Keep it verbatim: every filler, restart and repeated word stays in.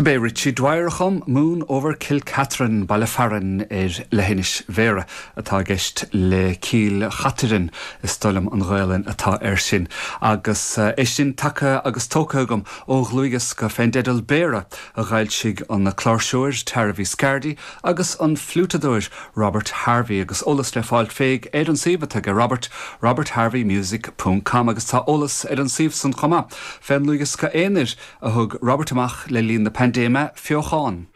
Do b'é Richie Dwyer a chum Moon over Kilcatherine baile fearainn ar leithinis Bhéarra atá i gceist le Cill Chaitirín is dóigh liom an Ghaelainn atá air sin. Agus uh, é sin tagtha agus tógtha agam ó dhlúthdhiosca fén dteideal Béarra a d'fhoilsigh an cláirseoir Tara Viscardi agus an fliútadóir Robert Harvey agus eolas le fáil fé ar an suíomh atá ag Robert robertharveymusic.com agus tá eolas ar an suíomh san chomh maith fén ndlúthdhiosca aonair a thug Robert amach le linn na paindéime feochán.